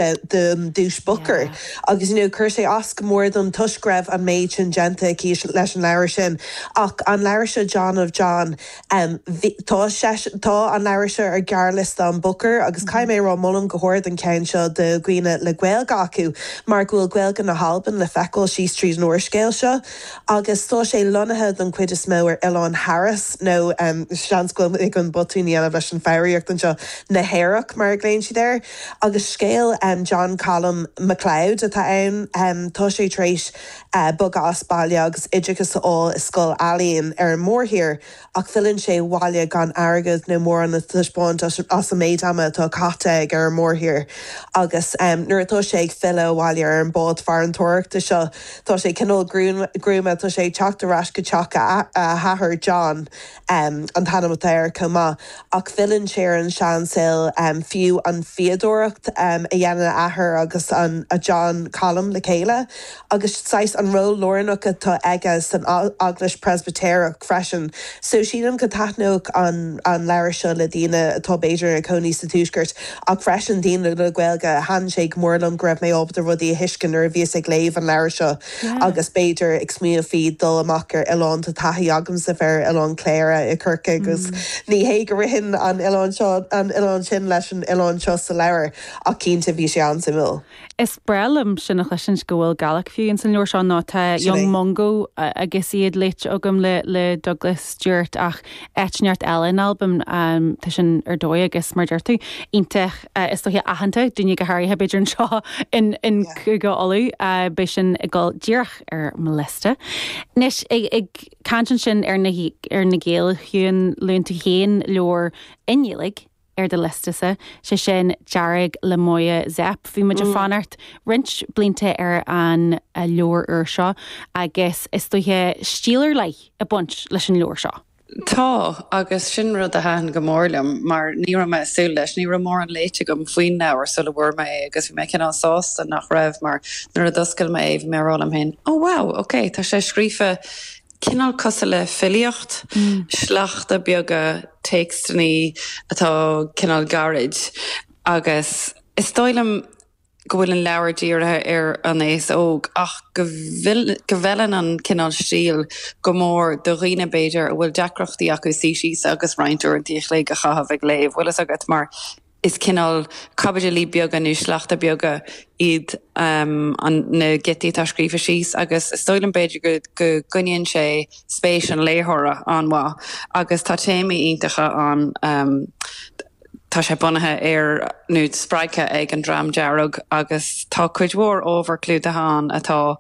Don duais Booker agus you know chuir sé as go mór dom toisc go raibh an méid sin déanta aici leis an leabhar sin ach an leabhar seo John of John bhí tá sé tá an leabhar seo ar ghearrliosta an Booker agus caithfidh mé a rá molaim go hard an ceann seo do dhaoine le Gaeilge acu mar go bhfuil Gaeilge na hAlban le feiceáil síos tríd an úrscéal seo agus tá sé lonnaithe don chuid is mó ar Oileán Harris nó seans go bhfuil mé chun botún a dhéanamh leis an foghraíocht anseo na hEarrach mar a ghlaonn siad air. Agus scéal John Colum MacLeod atá ann. Tá sé tar éis bogadh as baile agus oideachas a fháil i scoil ealaíon ar an mórthír, ach filleann sé abhaile gan airgead nó mórán le taispeáint as an méid ama atá caite aige ar an mórthír. Agus nuair atá sé ag filleadh abhaile ar an bád farantóireachta seo, tá sé cineál gruama, tá sé ag teacht ar ais go teach a athar, John. an t-ainm atá air chomh maith, ach filleann sé ar an seansaol, fiú an fhíodóireacht a dhéanann a athair agus an John Colum le chéile, agus saghas an ról lárnach atá aige san Eaglais Preispitéireach freisin. So sílim go dtaitneodh an leabhar seo le daoine atá b'fhéidir ina cónaí sa Tuaisceart, ach freisin daoine le Gaeilge. Thaitin sé go mór liom go raibh mé ábalta rudaí a thuiscint nuair a bhíos ag léamh an leabhair seo. Agus b'fhéidir ag smaoineamh faoi dul amach ar oileán, tá taithí agamsa bheith ar Oileán Chléire i Corcaigh agus ní hé go ritheann an oileán seo, an oileán sin leis an oileán seo sa leabhar ach cinnte bhí sé an-suimiúil. Is breá liom sin a chloisint go bhfuil Gàidhlig fiú ins an leabhar seo nó tá Young Mungo agus iad léite agam le le Douglas Stuart ach áit inteacht eile in Albain tá sin ar dóigh agus mar deir tú iontach is dóiche aitheanta, daoine go háirithe b'fhéidir anseo in in Cúige Uladh, beidh sin ag dul díreach ar mo liosta. Anois ag caint ansin ar na ar na Gaeil a Shiún, luann tú féin leabhar i nGaeilge ar do liosta-sa, sé sin Dearg le Moya Zep. Bhí muid ag fanacht roinnt blianta ar an leabhar úr seo agus is dóiche stíl ar leith ag baint leis an leabhar seo. Tá, agus sin rud a thaitin go mór liom mar ní raibh mé ag súil leis. Ní raibh mórán léite agam faoin leabhar sula bhfuair mé é agus bhí mé cineál sásta nach raibh mar nuair a d'oscail mé é bhí mé ag rá liom féin, oh wow, ok, tá sé scríofa cineál cosúil le filíocht, sleachta beaga, téacsanna atá cineál gairid agus is dóigh liom go bhfuil an leabhar dírithe ar an aos óg ach go go bhfeileann an cineál stíl go mór do dhaoine b'fhéidir a bhfuil deacrachtaí acu suí síos agus roinnt uaireanta a chloig a chaitheamh ag léamh, bhfuil fhios agat, mar is cineál caibidilí beaga nó sleachta beaga iad an na giotaí atá scríofa síos agus is dóigh liom b'fhéidir go go gcoinníonn sé spéis an léitheora an-mhaith agus tá téamaí iontacha ann. Tá sé bunaithe ar, nó spreagtha ag an Dream Dearg agus tá cuid mhór ábhar clúdaithe ann atá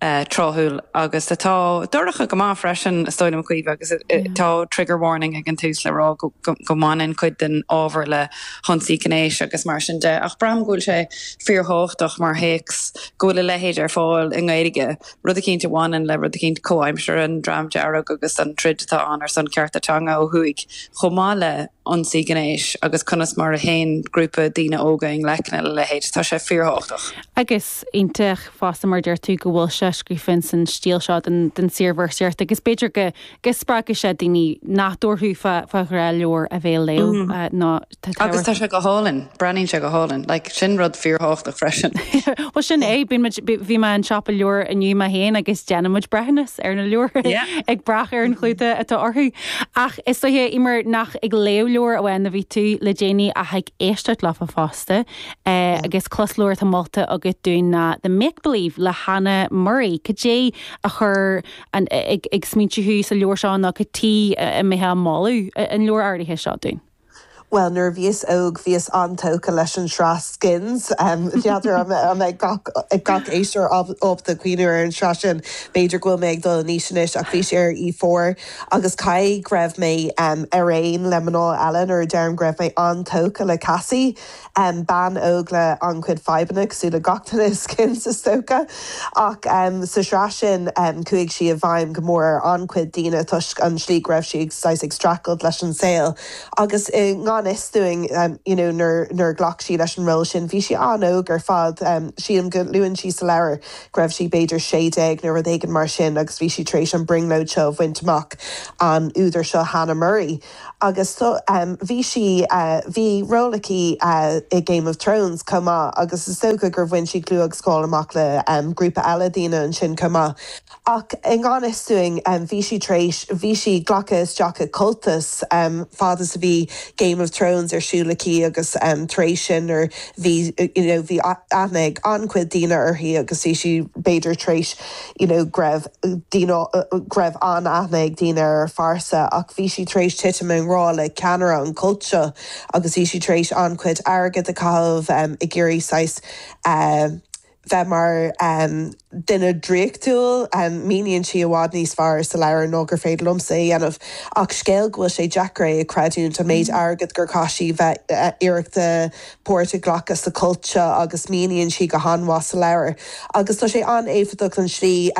tráthúil agus atá dorcha go maith freisin, is dóigh liom, Caoimhe, agus tá trigger warning ag an tús le rá go mbaineann cuid den ábhar le hionsaí gnéis agus mar sin de. Ach braithim go bhfuil sé fíorthábhachtach mar théacs go bhfuil a leithéid ar fáil i nGaeilge, rud eicínt a bhaineann le rud eicínt comhaimseartha, an Dream Dearg agus an troid atá ann ar son cearta teanga ó thuaidh, chomh maith le ionsaí gnéis agus conas mar a théann grúpa daoine óga i ngleic lena leithéid. Tá sé fíorthábhachtach. Agus iontach fosta mar a deir tú go bhfuil sé scríofa ins an stíl seo den den saorvéarsaíocht agus b'fhéidir go go spreagfaidh sé daoine nach dtabharfadh fá fá ghnáthleabhar a bheith á léamh nó tá Agus tá sé go hálainn, breathnaíonn sé go hálainn. Like, sin rud fíorthábhachtach freisin. Bhuel sin é, bíonn muid, bhí mé in siopa leabhar inniu mé féin agus déanann muid breithiúnas ar na leabhair ag brath ar an chlúdach atá orthu. Ach is dóiche, Eimear, nach ag léamh leabhar amháin a bhí tú le déanaí ach ag éisteacht leofa fosta. Agus closleabhar atá molta agat dúinn ná The Make Believe le Hannah Murray. Cad é a chuir ag ag smaointiú thú sa leabhar seo nó cad chuige a mbeifeá ag moladh an leabhar áirithe seo dúinn? Bhuel, nuair a bhíos óg, bhíos an-tógtha leis an sraith Skins. N'fheadar an mbeidh gach gach éisteoir ábalta cuimhniú ar an sraith sin. B'fhéidir go bhfuil mé ag dul in aois anois ach bhí sé ar E4 agus caithfidh go raibh mé ar aon le mná eile nuair a deirim go raibh mé an-tógtha le Cassie. Bean óg le an-chuid fadhbanna, cosúil le gach duine i Skins is dócha. Ach sa sraith sin chuaigh sí i bhfeidhm go mór ar an-chuid daoine toisc an slí go raibh sí saghas ag streachailt leis an saol. Agus i ngan. ngan fhios dúinn you know nuair nuair a ghlac sí leis an ról sin, bhí sí an-óg ar fad. Sílim go luann sí sa leabhar go raibh sí b'fhéidir 16 nó rud éigin mar sin agus bhí sí tar éis an brionglóid seo a bhaint amach, an údar seo Hannah Murray. Agus bhí sí, bhí ról aici i Game of Thrones chomh maith agus is dócha gur bhain sí clú agus cáil amach le grúpa eile daoine ansin chomh maith. Ach i ngan fhios dúinn, bhí sí tar éis, bhí sí glactha isteach i cultas fad is a bhí Game of Thrones ar siúl aici agus tar éis sin nuair bhí, you know, bhí aithne ag an-chuid daoine uirthi agus bhí sí b'fhéidir tar éis, you know, go raibh daoine, go raibh an-aithne ag daoine ar a phearsa ach bhí sí tar éis titim i ngrá le ceannaire an chult seo agus bhí sí tar éis an-chuid airgid a chaitheamh ag iarraidh saghas bheith mar duine draíochtúil. Míníonn sí i bhfad níos fearr sa leabhar ná gur féidir liomsa a dhéanamh. Ach scéal go bhfuil sé deacair é a chreidiúint, an méid airgid gur chaith sí bheith iarracht páirt a ghlacadh sa chult seo agus míníonn sí go han-mhaith sa leabhar. Agus tá sé an-éifeachtach an tslí,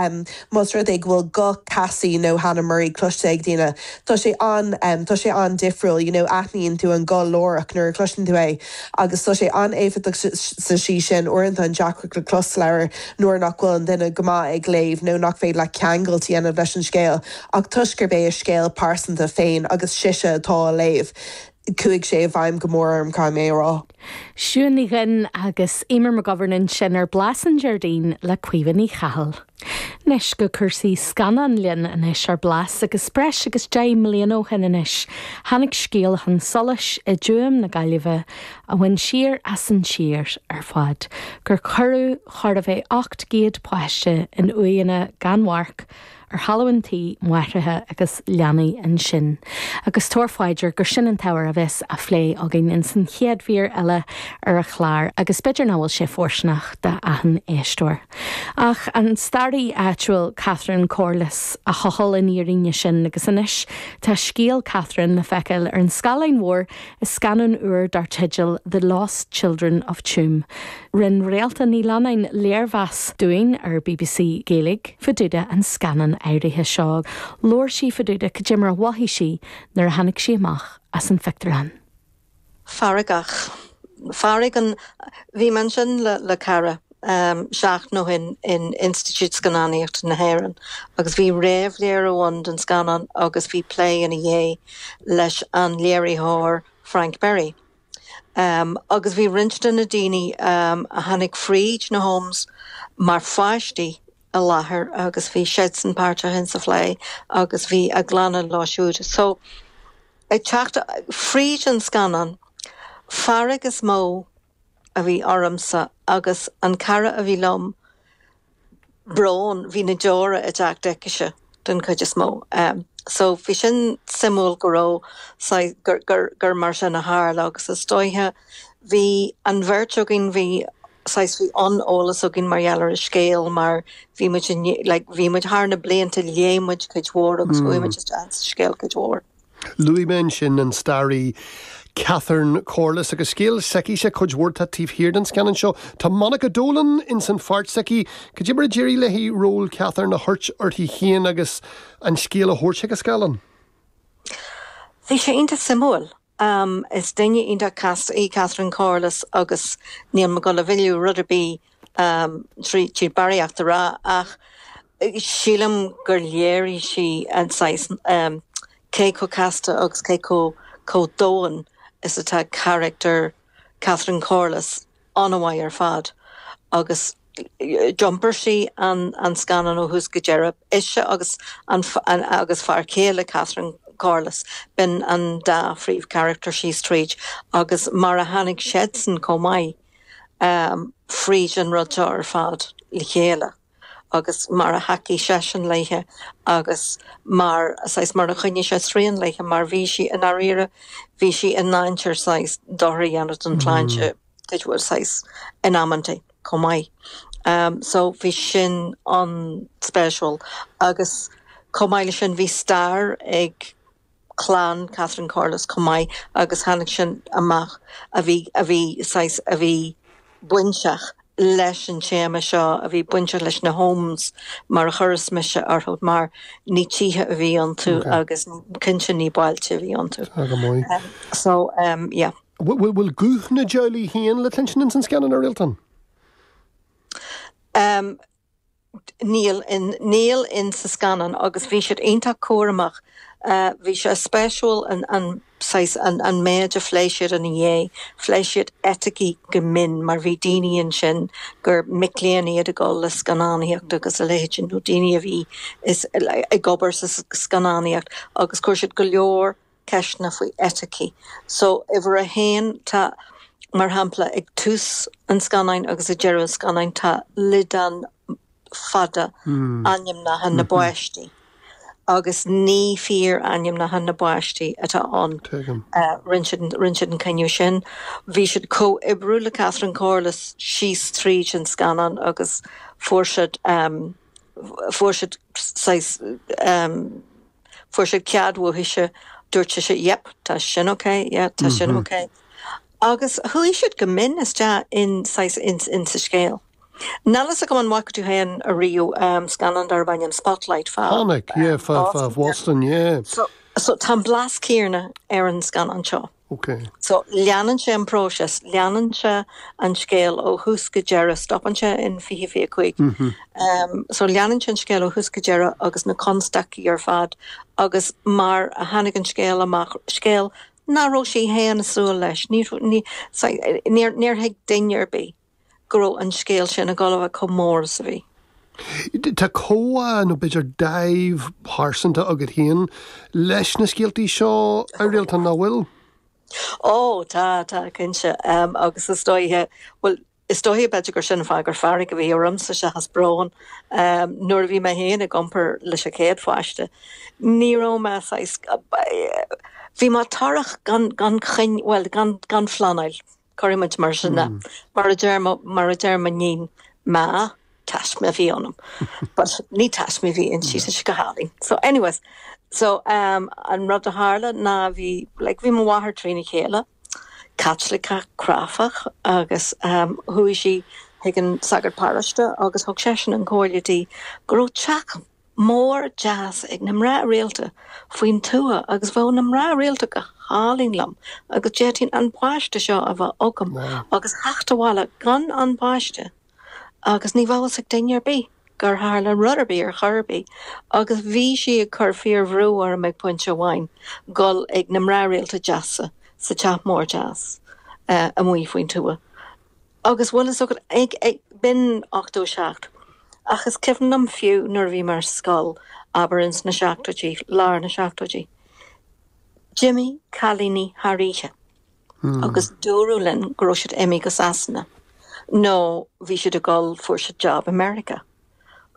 más rud é go bhfuil guth Cassie nó Hannah Murray cloiste ag daoine, tá sé an, tá sé an-difriúil, you know, aithníonn tú an guth láithreach nuair a chloiseann tú é. Agus tá sé an-éifeachtach sa tslí sin, uaireanta an deacracht le closleabhar nuair nach bhfuil an duine go maith ag léamh nó nach féidir leat ceangailt a dhéanamh leis an scéal, ach toisc gurb é a scéal pearsanta féin agus sise atá á léamh, chuaigh sé i bhfeidhm go mór orm, caithfidh mé a rá. Siún Ní Dhuinn agus Eimear McGovern ansin ar Blas an Déardaoin le Caoimhe Ní Chathail. Anois go cúrsaí scannán linn anois ar Blas agus breis agus 10 mbliana ó shin anois tháinig scéal chun solais i dTuaim na Gaillimhe a bhain siar as an tír ar fad, gur cuireadh chóir a bheith 800 páiste in uaigheanna gan mharc ar thalamh an tí, máithreacha agus leanaí ansin. Agus tabhair fá dear gur sin an t-ábhar a bheas á phlé againn ins an chéad mhír eile ar an chlár agus b'fhéidir nach bhfuil sé fóirsteanach d'achan éisteoir. Ach an staraí áitiúil Catherine Corless a thochail an fhírinne sin agus anois tá scéal Catherine le feiceáil ar an scáileán mhór i scannán úr dar teideal The Lost Children of Tuam. Rinne Réalta Ní Leannáin léirmheas dúinn ar bbc Gaeilge fá dtaobh de an scannán áirithe seo. Labhair sí fá dtaobh de cad é mar a mhothaigh sí nuair a tháinig sí amach as an phictiúrlann. Feargach. Fearg an. Bhí mé ansin le le cara seachtain ó shin in Institiúid Scannánaíochta na hÉireann agus bhí réamhléiriú ann den scannán agus bhí plé ina dhiaidh leis an léiritheoir Frank Berry. Agus bhí roinnt de na daoine a tháinig fríd na homes mar pháistí i láthair agus bhí siadsan páirteach in sa phlé agus bhí a gclanna leo siúd. So, ag teacht fríd an scannán, fearg is mó a bhí ormsa agus an cara a bhí liom, brón, bhí na deora ag teacht aicise den chuid is mó. So bhí sin suimiúil go raibh saghas, gur, gur, gur mar sin a tharla agus is dóiche bhí an bheirt againn, bhí saghas, bhí an-eolas againn mar gheall ar an scéal mar bhí muid in, like, bhí muid thar na blianta léigh muid cuid mhór agus chuaigh muid isteach sa scéal cuid mhór. Luaigh mé ansin an staraí Catherine Corless agus scéal s'aicise cuid mhór atá taobh thiar den scannán seo. Tá Monica Dolan ins an pháirt s'aici. Cad é mar a d'éirigh léi ról Catherine a thabhairt uirthi féin agus an scéal a thabhairt chuig an scáileán? Bhí sé iontach suimiúil. Is duine iontach casta í Catherine Corless agus níl mé ag dul a mhilleadh rud ar bith tríd barraíocht a rá ach sílim gur léirigh sí an saghas cé chomh casta agus cé chomh chomh domhain is atá carachtar Catherine Corless an-mhaith ar fad agus d'iompair sí an an scannán ó thús go deireadh. Ise agus an agus fear céile Catherine Corless, b'in an dá phríomhcharachtar síos tríd agus mar a tháinig siadsan chomh maith fríd an rud seo ar fad le chéile. agus mar a thacaigh seisean léithe agus mar, saghas, mar a choinnigh sé srian léithe mar bhí sí, i ndáiríre, bhí sí i ndainséar saghas dochar a dhéanamh don tsláinte cuid mhór, saghas, in amantaí chomh maith. So bhí sin an-spéisiúil agus chomh maith leis sin bhí stair ag clann Catherine Corless chomh maith agus tháinig sin amach a bhí, a bhí saghas, a bhí bainteach. leis an téama seo a bhí bainteach leis na homes mar a chuireas mise orthu mar ní tithe a bhí iontu agus cinnte ní bailte a bhí iontu. Tá go maith. So yeah. Bhfuil guth na dteaghlaigh féin le cluinstin ins an scannán, a Réaltán? Um, Níl, níl in sa scannán agus bhí siad iontach cúramach. Bhí sé spéisiúil an, an saghas, an, an méid a phléigh siad ina dhiaidh. Phléigh siad eiticí go mion mar bhí daoine ansin gur mic léinn iad ag dul le scannánaíocht agus a leithéid sin nó daoine a bhí is, ag obair sa scannánaíocht agus chuir siad go leor ceisteanna faoi eiticí. So, uimhir a haon, tá, mar shampla, ag tús an scannáin agus ag deireadh an scannáin, tá liodán fada ainmneacha na bpáistí agus ní fíor-ainmneacha na bpáistí atá ann. Rinne siad, rinne siad an cinneadh sin. Bhí siad comhoibriú le Catherine Corless síos tríd an scannán agus fuair siad, fuair siad saghas, Fuair siad cead uaithise, dúirt sise yep, tá sin ok, yeah, tá sin ok. Agus chuaigh siad go mion isteach in saghas in in sa scéal. Níl fhios agam an bhfaca tú féin ariamh scannán darb ainm Spotlight fá Chonaic, yeah, fá fá Bhoston, yeah. So so tá an blas céanna ar an scannán seo. Ok. So, leanann sé an próiseas, leanann sé an scéal ó thús go deireadh, stopann sé in 2025. So, leanann sé an scéal ó thús go deireadh agus na constaicí ar fad agus mar a tháinig an scéal amach, scéal nach raibh sí féin ag súil leis, ní, ní, níor, níor thuig duine ar bith. go raibh an scéal sin ag dul a bheith chomh mór is a bhí. Tá comhbhá nó b'fhéidir dáimh pearsanta agat féin leis na scéaltaí seo, a Réaltán, nach bhfuil? Ó, tá, tá, cinnte. Agus is dóiche, bhuel, is dóiche b'fhéidir gur sin an fáth gur fearg a bhí ormsa seachas brón. Nuair a bhí mé féin ag iompar leis an chéad pháiste, ní raibh mé saghas, bhí mé torrach gan, gan choinne, bhuel, gan, gan phleanáil. Cuirfidh muid mar sin é. Mar a deir mo, mar a deir m'iníon, Ma, taisme a bhí ionam. But ní taisme a bhí inti, tá sé go hálainn. So anyways, so um, an rud a tharla ná bhí, like, bhí mo mháthair trína chéile, Caitliceach cráifeach agus um, chuaigh sí chuig an sagart paróiste agus thug seisean an chomhairle di go raibh teach mór deas ag na mná rialta faoin tuath agus bheadh na mná rialta go hálainn liom agus d'fhéadfainn an páiste seo a bheith agam agus theacht abhaile gan an páiste agus ní bheadh fhios ag duine ar bith gur tharla rud ar bith ar chor ar bith agus bhí sí ag cur fíor bhrú orm ag pointe amháin dul ag na mná rialta deasa sa teach mór deas amuigh faoin tuath. Agus bhfuil fhios agat, ag, ag, b'in 87. Ach is cuimhin liom fiú nuair a bhí mé ar scoil, abair ins na seachtóidí, lár na seachtóidí, d'imigh cailíní thar oíche agus dúradh linn go raibh siad imithe go Sasana nó bhí siad ag dul, fuair siad job i Meiriceá.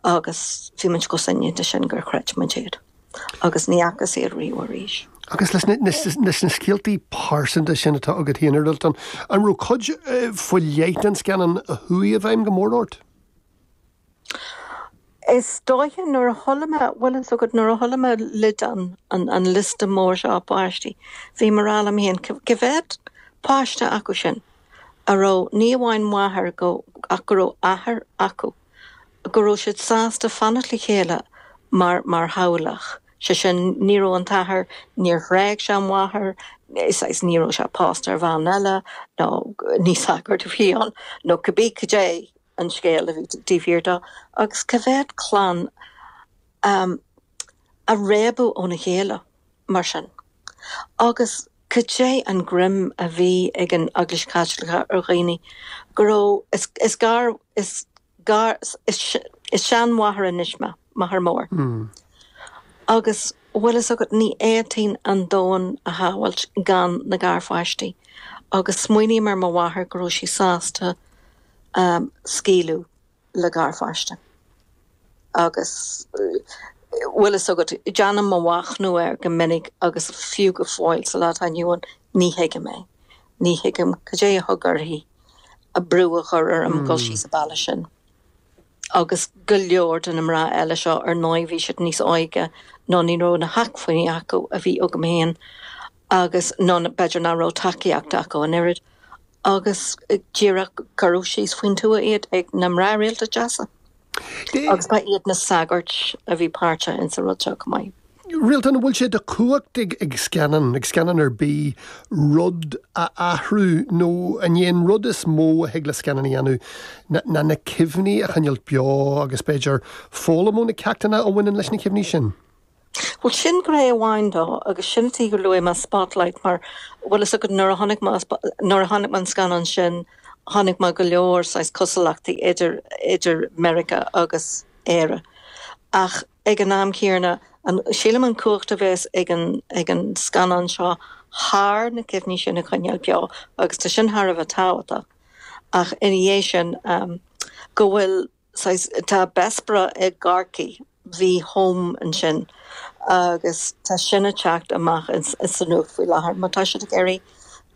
agus bhí muid chomh soineanta sin gur chreid muid iad agus ní fhacthas iad riamh arís. Agus leis na scéaltaí pearsanta sin atá agat féin, a Réaltán, an raibh cuid faoi leith den scannán a chuaigh i bhfeidhm go mór ort? Is dóiche nuair a chuala mé, bhfuil fhios agat, nuair a chuala mé liodán, an liosta mór seo páistí, bhí mé ag rá liom féin, cá mhéad páiste acu sin a raibh ní amháin máthair ach go raibh athair acu? go raibh siad sásta fanacht le chéile mar mar theaghlach, sé sin, ní raibh an t-athair, níor thréig sé an mháthair, saghas, ní raibh sé pósta ar bhean eile, nó ní sagart a bhí ann, nó cibé cad é an scéal a bhí taobh thiar dó, agus cá mhéad clann a réabadh óna chéile mar sin. Agus cad é an greim a bhí ag an Eaglais Chaitliceach ar dhaoine go raibh, is, is gar, is gar, is, is seanmháthair anois mé, máthair mór. Agus bhfuil fhios agat, ní fhéadfainn an domhan a shamhailt gan na garpháistí. Agus smaoiním ar mo mháthair go raibh sí sásta scaoileadh le garpháiste. Agus bhfuil fhios agat, déanaim mo mhachnamh air go minic agus fiú go fóill sa lá atá inniu ann, ní thuigim é. Ní thuigim cad é a thug uirthi brú a chur orm dul síos an bealach sin. Agus go leor de na mná eile seo, ar ndóigh, bhí siad níos óige nó ní raibh na hacmhainní acu a bhí agam féin agus nó b'fhéidir nach raibh tacaíocht acu an oiread. Agus díreach cuireadh síos faoin tuath iad ag na mná rialta deasa. Agus ba iad na sagairt a bhí páirteach insa rud seo chomh maith. Réaltán, an bhfuil sé de chumhacht ag scannán, ag scannán ar bith, rud a athrú nó an é an rud is mó a thig le scannán a dhéanamh ná na cuimhní a choinneáilt beo agus b'fhéidir foghlaim ó na ceachtanna a bhaineann leis na cuimhní sin? Bhuel, sin gné amháin dó agus sin an tuige gur luaigh mé Spotlight mar, bhfuil fhios agat, nuair a chonaic mé, nuair a chonaic mé an scannán sin, chonaic mé go leor saghas cosúlachtaí idir, idir Meiriceá agus Éire. Ach ag an am céanna, an, sílim an cumhacht a bheas ag an, ag an scannán seo thar na cuimhní sin a choinneáil beo agus tá sin thar a bheith tábhachtach. Ach ina dhiaidh sin, go bhfuil, saghas, tá Bessborough i gCorcaigh, bhí home ansin agus tá sin ag teacht amach sa nuacht faoi láthair mar tá siad ag iarraidh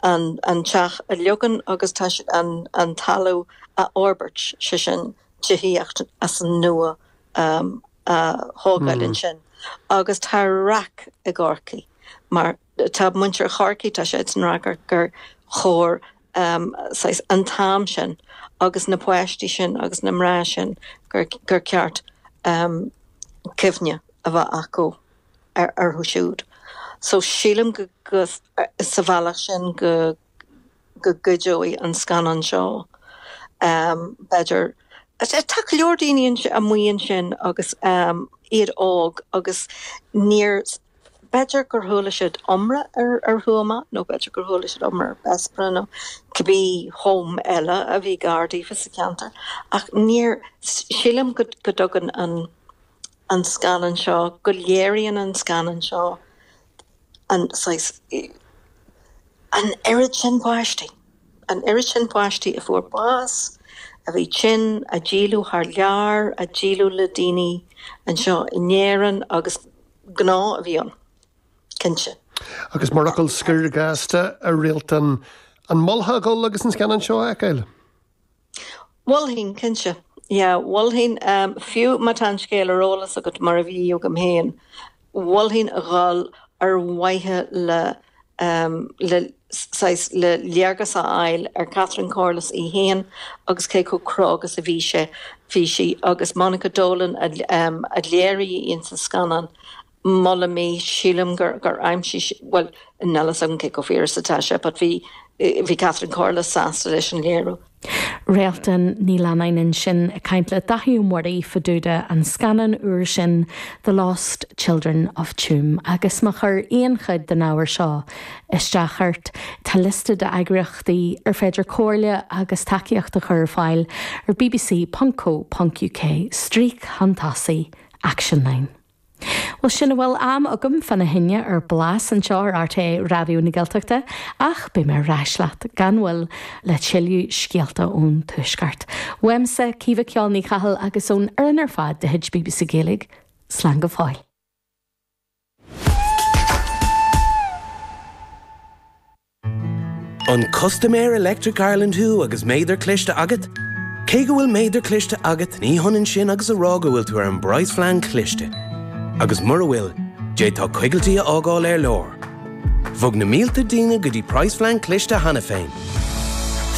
an an teach a leagan agus tá siad an an talamh a fhorbairt, sé sin tithíocht as an nua a thógáil ansin agus tá raic i gCorcaigh mar tá muintir Chorcaí, tá siadsan ag rá gur chóir saghas an t-am sin agus na páistí sin agus na mná sin gur gur ceart cuimhne a bheith acu ar orthu siúd. So sílim go go sa bhealach sin go go gcuideoidh an scannán seo b'fhéidir tá go leor daoine amuigh ansin agus iad óg agus níor B'fhéidir gur chuala siad iomrá ar Thuama nó b'fhéidir gur chuala siad iomrá ar Bessborough nó cibé home eile a bhí gar daofa sa cheantar ach níor, sílim go dtugann an an scannán seo, go léiríonn an scannán seo an saghas, an oiread sin páistí, an oiread sin páistí a fuair bás, a bhí tinn, a díoladh thar lear, a díoladh le daoine anseo in Éirinn agus. gnó a bhí ann, cinnte. Agus mar fhocal scoir gasta, a Réaltán, an molfá a dhul agus an scannán seo a fheiceáil? Mholfainn, cinnte. Yeah, mholfainn, fiú má tá an scéal ar eolas agat, mar a bhí agam féin, mholfainn a dhul ar mhaithe le, le saghas, le léargas a fháil ar Catherine Corless í féin agus cé chomh cróga is a bhí sé, bhí sí agus Monica Dolan a a léirigh í insa scannán, molaim í, sílim gur gur aimsigh sí, bhuel, níl a fhios agam cé chomh fíor is atá sé but bhí bhí Catherine Corless sásta leis an léiriú. Réaltán Ní Leannáin ansin ag caint le Dáithí Ó Muirí fá dtaobh de an scannán úr sin The Lost Children of Tuam. Agus má chuir aon chuid den ábhar seo isteach ort, tá liosta d'eagraíochtaí ar féidir comhairle agus tacaíocht a chur ar fáil ar bbc.co.uk stríoc chun tosaigh Actionline. Bhuel, sin a bhfuil am agam fána choinne ar Blas anseo ar RTÉ Raidió na Gaeltachta ach beidh mé ar ais leat gan mhoill le tuilleadh scéalta ón Tuaisceart. Uaimse, Caoimhe Ceol Ní Chathail agus ón fhoireann ar fad de chuid bbc Gaeilge, slán go fóill. An custaiméir Electric Ireland thú agus méadar cliste agat? Cé go bhfuil méadar cliste agat, ní hionann sin agus a rá go bhfuil tú ar an bpraghasphlean cliste. Agus mura bhfuil, d'fhéadfá coigiltí a fhágáil ar lár. Bhog na mílte daoine go dtí praghasphlean cliste cheana féin.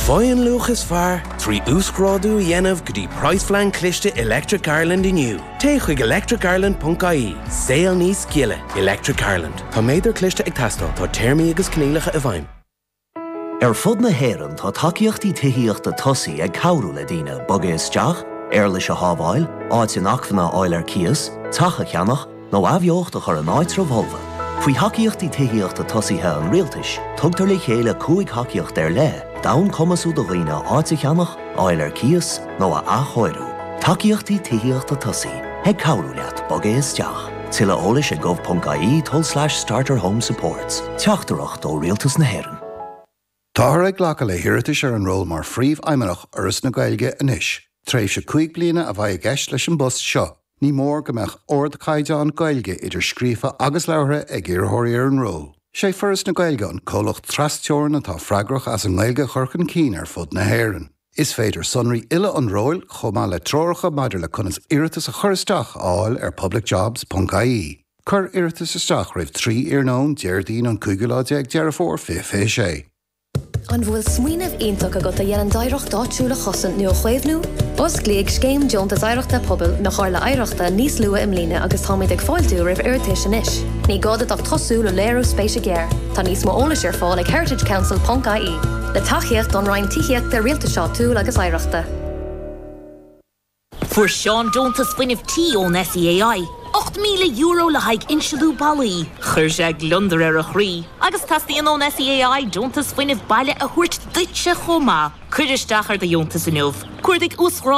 Faigh an luach is fearr trí uasghrádú a dhéanamh go dtí praghasphlean cliste Electric Ireland inniu. Téigh chuig electricireland.ie. Saol níos gile. Electric Ireland. Tá méadar cliste ag teastáil. Tá téarmaí agus coinníollacha i bhfeidhm. Ar fud na hÉireann tá tacaíochtaí tithíochta tosaigh ag cabhrú le daoine bogadh isteach, éarlais a shábháil, áit inacmhainne a fháil ar cíos, teach a cheannach, nó athbheocht a chur in áitreabh folmha. Faoi Thacaíochtaí Tithíochta Tosaithe an Rialtais, tugtar le chéile 5 thacaíocht ar leith d'fhonn cumasú do dhaoine áit a cheannach, a fháil ar cíos, nó a athchóiriú. Tacaíochtaí Tithíochta Tosaigh, ag cabhrú leat bogadh isteach. Tuilleadh eolais ag gov.ie tulslais starter home supports. Teachtaireacht ó Rialtas na hÉireann. Táthar ag glacadh le hiarratais ar an ról mar Phríomhfheidhmeannach Fhoras na Gaeilge anois. Tréimhse 5 bliana a bheidh i gceist leis an bpost seo. Ní mór go mbeadh ardchaighdeán Gaeilge idir scríofa agus labhartha ag iarrthóirí ar an ról. Sé Foras na Gaeilge an comhlacht tras-teorann atá freagrach as an nGaeilge a chur chun cinn ar fud na hÉireann. Is féidir sonraí uile an róil, chomh maith le treoracha maidir le conas iarratas a chur isteach, a fháil ar publicjobs.ie. Cuir iarratas isteach roimh 3 iarnóin, Déardaoin an cúigiú lá déag Deireadh Fómhair 2026. An bhfuil smaoineamh iontach agat a dhéanann d'oidhreacht áitiúil a chosaint nó a chaomhnú? Osclaíodh Scéim Deontas Oidhreachta Pobail na Comhairle Oidhreachta níos luaithe i mbliana agus táimid ag fáiltiú roimh iarratais anois. Ní gá duit ach tosú le léiriú spéise géar. Tá níos mó eolais ar fáil ag heritagecouncil.ie. Le tacaíocht ón Roinn Tithíochta, Rialtais Áitiúil agus Oidhreachta. Fuair Seán deontas fuinnimh tí ón SEAI, €8,000 le haghaidh insealú ballaí. Chuir sé gliondar ar a chroí. Agus teastaíonn ón SEAI deontas fuinnimh baile a thabhairt duitse chomh maith. Cuir isteach ar do dheontas inniu. Cuardaigh uasghrádú.